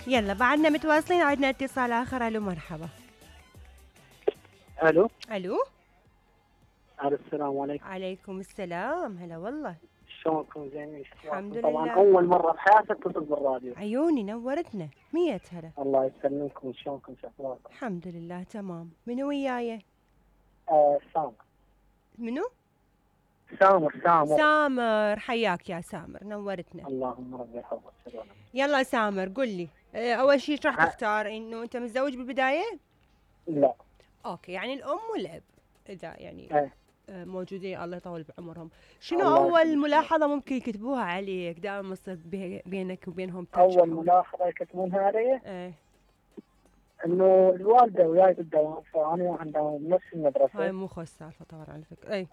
يلا بعدنا متواصلين، عندنا اتصال آخر. ألو مرحبا. الو ألو. السلام عليكم. عليكم السلام، هلا والله. شلونكم؟ زينين؟ الحمد طبعا لله. اول مره بحياتي اتصل بالراديو. عيوني نورتنا، 100 هلا. الله يسلمكم، شلونكم؟ شو اخباركم؟ الحمد لله تمام. منو وياي؟ سامر. منو؟ سامر. سامر، حياك يا سامر، نورتنا. اللهم ربي يحفظك. شلونك؟ يلا سامر قل لي، أول شيء راح تختار إنه أنت متزوج بالبداية؟ لا. أوكي، يعني الأم والأب إذا يعني موجودين، الله يطول بعمرهم. شنو الله أول يسلمك. ملاحظة ممكن يكتبوها عليك دائما يصير بينك وبينهم touch اول حول؟ ملاحظه يكتبونها علي ايه انه الوالده وياي بالدوام، فانا عندها نفس المدرسه. هاي مو خوش سالفة طبعا على فكرة. اي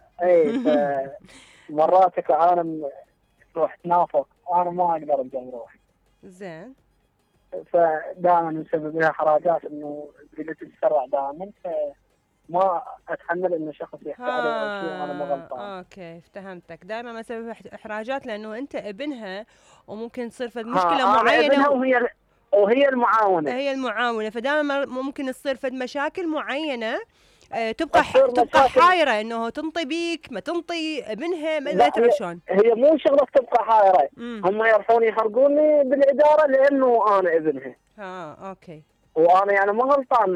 فمرات العالم تروح تنافق، انا ما اقدر ابدا اروح. زين. فدائما مسبب لها حراجات انه بدي تتسرع دائما، فما اتحمل انه شخص يحكي علي او شيء وانا ما غلطان. اوكي افتهمتك. دائما ما سبب احراجات لانه انت ابنها، وممكن تصير فد مشكلة معينة وهي المعاونة. هي المعاونة، فدائما ممكن تصير فد مشاكل معينة. تبقى حايرة انه تنطي بيك ما تنطي ابنها، ما تعرف شلون. هي مو شغلة تبقى حايرة، هم يروحون يحرقوني بالإدارة لأنه أنا ابنها. اوكي. وانا يعني ما غلطان،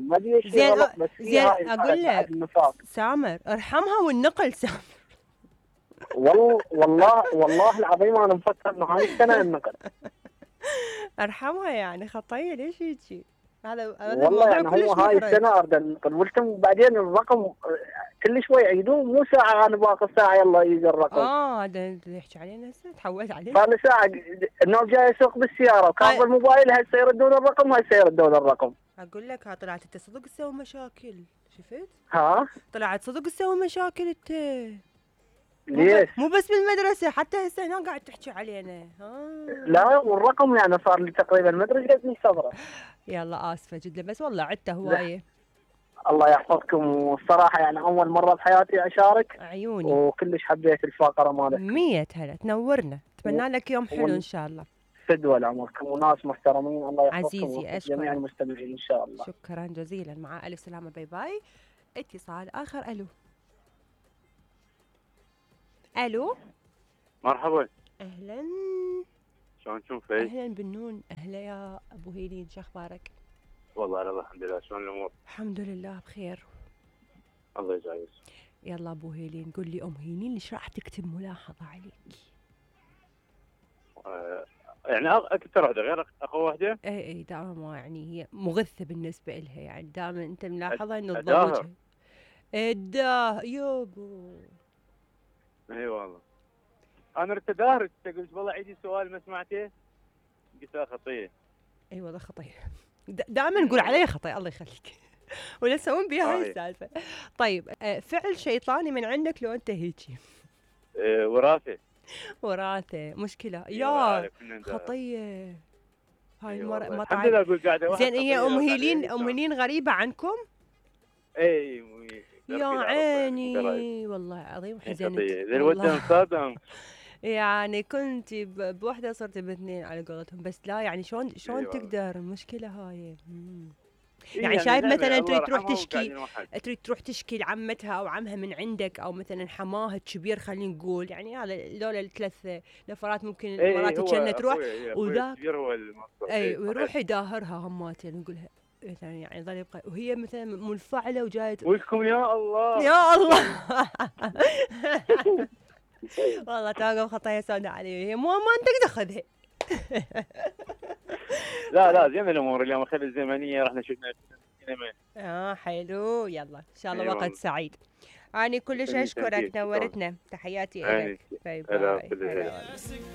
ما ادري شيء غلط، بس زين اقول لك سامر ارحمها والنقل. سامر والله العظيم انا مفكر انه هاي السنة النقل. ارحمها يعني خطيه، ليش هيجي؟ هذا والله يعني هو هاي السنة اريد النقل، قلتم بعدين الرقم كل شوي يعيدوه، مو ساعة انا باقي ساعة يلا يجي الرقم. هذا اللي يحكي علينا هسه، تحولت عليه. صار لي ساعة النوب جاي يسوق بالسيارة وكان بالموبايل، هسه يردون الرقم وهسه يردون الرقم. اقول لك طلعت انت صدق تسوي مشاكل، شفت؟ طلعت صدق تسوي مشاكل انت. ليش؟ مو بس بالمدرسة، حتى هسه هنا قاعد تحكي علينا. لا والرقم يعني صار لي تقريبا ما ادري قد صبره. يلا اسفة جدا، بس والله عدته هواية. الله يحفظكم، والصراحة يعني أول مرة بحياتي أشارك. عيوني. وكلش حبيت الفقرة مالتكم. 100 هلا، تنورنا. أتمنى لك يوم حلو إن شاء الله. فدوى لعمركم وناس محترمين، الله يحفظكم عزيزي أشكرك. جميع المستمعين إن شاء الله. شكرا جزيلا، مع ألف سلامة، باي باي. اتصال آخر. ألو. مرحبا. أهلا. شلون تشوفي؟ أهلا بالنون. أهلا يا أبو هيلين، شو أخبارك؟ والله أنا الحمد لله، شلون الأمور؟ الحمد لله بخير. الله يجازيك. يلا أبو هيلين قل لي، أم هيلين ليش راح تكتب ملاحظة عليك؟ يعني أكثر واحدة غير أخو واحدة؟ إي دائما، ما يعني هي مغثة بالنسبة إلها، يعني دائما أنت ملاحظة إنه تضوجها. يابو. اي والله. انا رحت ادارك، قلت والله عيدي سؤال ما سمعته، قلت خطيه. اي والله خطيه. دائما نقول عليه خطيه، الله يخليك. ولا تسوون بيها هاي السالفه. طيب فعل شيطاني من عندك لو انت هيجي؟ وراثه مشكله يا خطيه. هاي المره ما الحمد لله. اقول قاعده زين. هي ام هيلين غريبه عنكم؟ اي يا عيني والله العظيم حزنت والله. يعني كنت بوحده صرت باثنين على قولتهم، بس لا يعني شلون تقدر؟ المشكله هاي. يعني شايف مثلا تريد تروح تشكي لعمتها او عمها من عندك، او مثلا حماها الكبير خلينا نقول، يعني هذا لولا الثلاث نفرات ممكن مرات تشنى تروح وذاك ويروح يداهرها هماتين ويقولها مثلا، يعني ظل يبقى وهي مثلا منفعله وجايه ويلكم يا الله يا الله. والله توقف خطايا سوداء علي، هي مو ما انت تاخذها. لا زين الامور اليوم، خلي الزمنيه رحنا شفنا سينما. حلو. يلا ان شاء الله وقت سعيد. أنا كلش اشكرك، نورتنا. تحياتي لك. باي باي.